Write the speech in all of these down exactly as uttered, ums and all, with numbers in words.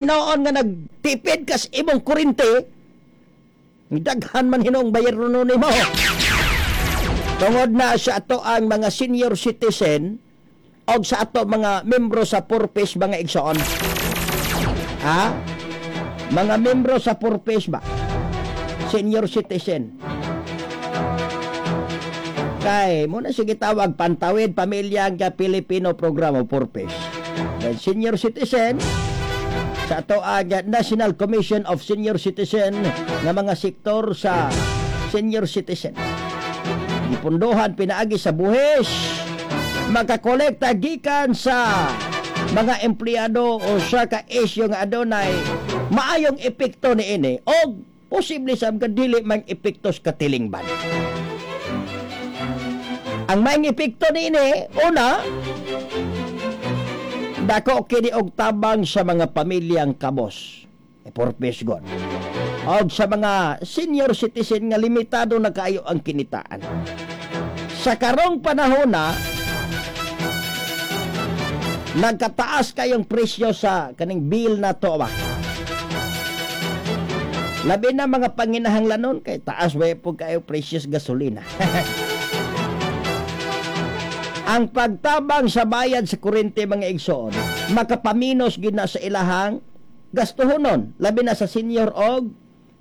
Noon nga nagtipid kas imong kurente, daghan man hinuong bayronon nimo. Tungod na sa ato ang mga senior citizen og sa ato mga membro sa purpose, mga igsoon. Ha? Mga membro sa purpose ba? Senior citizen. Kay mo na sige tawag Pantawid Pamilya nga Pilipino Program o purpose. Then senior citizen sa ato ang National Commission of Senior Citizen nga mga sektor sa senior citizen. Gipundohan pinaagi sa buhis, makakolekta gikan sa mga empleyado o sa ka isyu nga adunay maayong epekto niini og posible sa mga dili mang epekto sa katilingban. Ang maayong epekto niini, una, dako kini og tabang sa mga pamilyang kabos. E purpose god. Og sa mga senior citizen nga limitado na kaayo ang kinitaan. Sa karong panahon na nagkataas kayong presyo sa kaning bill na to ba. Labi na mga panginahanglanon kay taas ba po kayo presyo sa gasolina. Ang pagtabang sa bayad sa kuryente, mga igsoon, makapaminos gid na sa ilahang gastuhonon, labi na sa senior og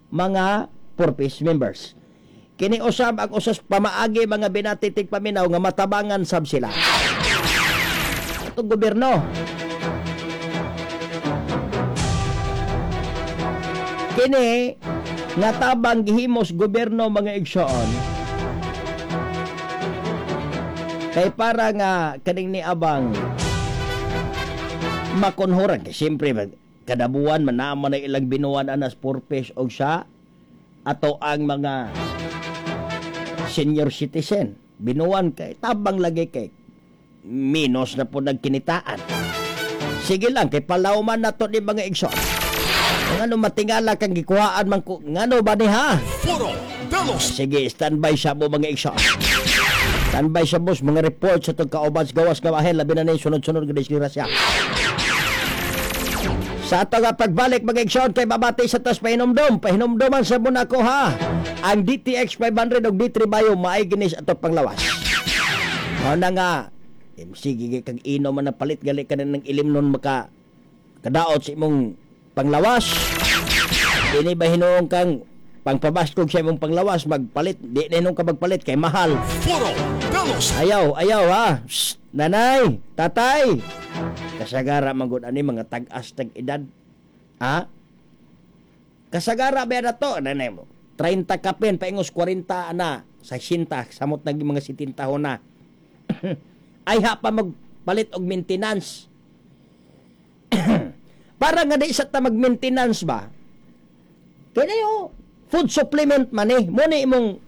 mga purpose members. Kini usab ang usas pamaagi, mga binati tigpaminaw, nga matabangan sab sila. Itong gobyerno. Kini nga tabang gihimos gobyerno, mga igsoon, kay para nga kaning ni abang makunhoran kay siyempre kada buwan man naman na ilang binuan anas purpose og sa ato ang mga senior citizen binuan kay tabang lagi kay minus na po nagkinitaan. Sige lang kay palawman na to ni mga igsoon. Ngano matingala kang gikuhaan man ko, ngano ba ni ha? Foro de los Sige, standby sa mo, mga igsoon. Standby sa boss, mga report sa itong kauban sa gawas nga bahin, labi na na yung sunod-sunod nga disgrasya. Sa ato nga pagbalik, mga igsoon, kay babati sa tas pahinumdum. Pahinumduman sa muna ko ha. Ang D T X five hundred o D three Bio, maay ginis ato panglawas. Mao na nga, M C, gigi kag ino man na palit gali ka na ng ilim nun maka kadaot sa imong panglawas. Dili ba hinuong kang pangpabaskog sa imong panglawas, magpalit, di na hinuong ka magpalit kay mahal. Foro de los Ayaw, ayaw ha. Shh, nanay, tatay. Kasagara man gud ani mga tag-as tag edad. Ha? Kasagara ba na to? Nanay mo. treinta kapin, paingos kwarenta na, sesenta, samot naging mga sitenta ho na. Ay ha pa magpalit og maintenance. Para nga di sa ta mag-maintenance ba? Kaya yo, food supplement man eh. Muna imong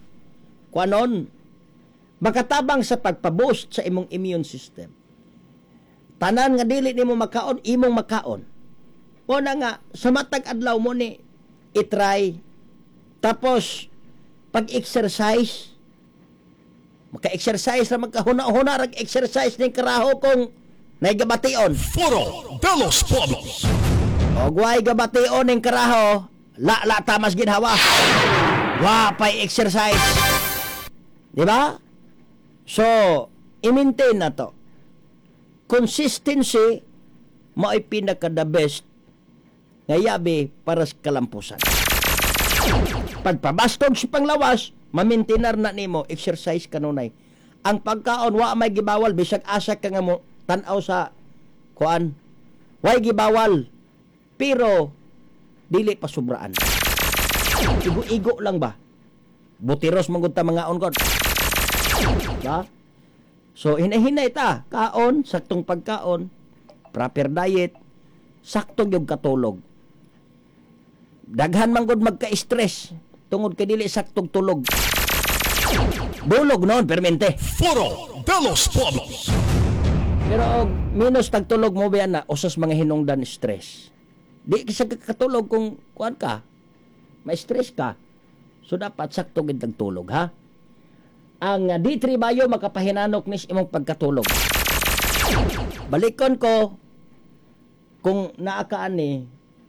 kuanon, makatabang sa pagpaboost sa imong immune system. Tanan nga dili nimo makaon, imong makaon. Una nga, sa matag adlaw mo ni itry. Tapos, pag-exercise, maka-exercise ra magkahuna-huna rag exercise ning karaho kung naigabation. Foro de los Pueblos. Og way gabation ning karaho, la la tamas ginhawa. Wa pay exercise. Di ba? So, i-maintain na to. Consistency mao'y pinaka the best nga yabi para sa kalampusan. Pagpabastog sa panglawas, mamintinar na nimo, exercise kanunay. Ang pagkaon wa may gibawal bisag asa ka nga mo tan-aw sa kuan. Way gibawal pero dili pa sobraan. Igo-igo lang ba? Butiros man gud ta mga on god. Ba? So hinahinay ta, kaon, saktong pagkaon, proper diet, sakto gyud katulog. Daghan man gud magka-stress tungod kay dili saktong tulog. Dulog noon permente. Foro de los Pueblos. Pero og minus tagtulog mo ba na usas mga hinungdan stress. Di ka sa katulog kung kuan ka, ma-stress ka. So dapat sakto gid tagtulog ha. Ang D three Bio makapahinanok nis imong pagkatulog. Balikon ko kung naa ka ani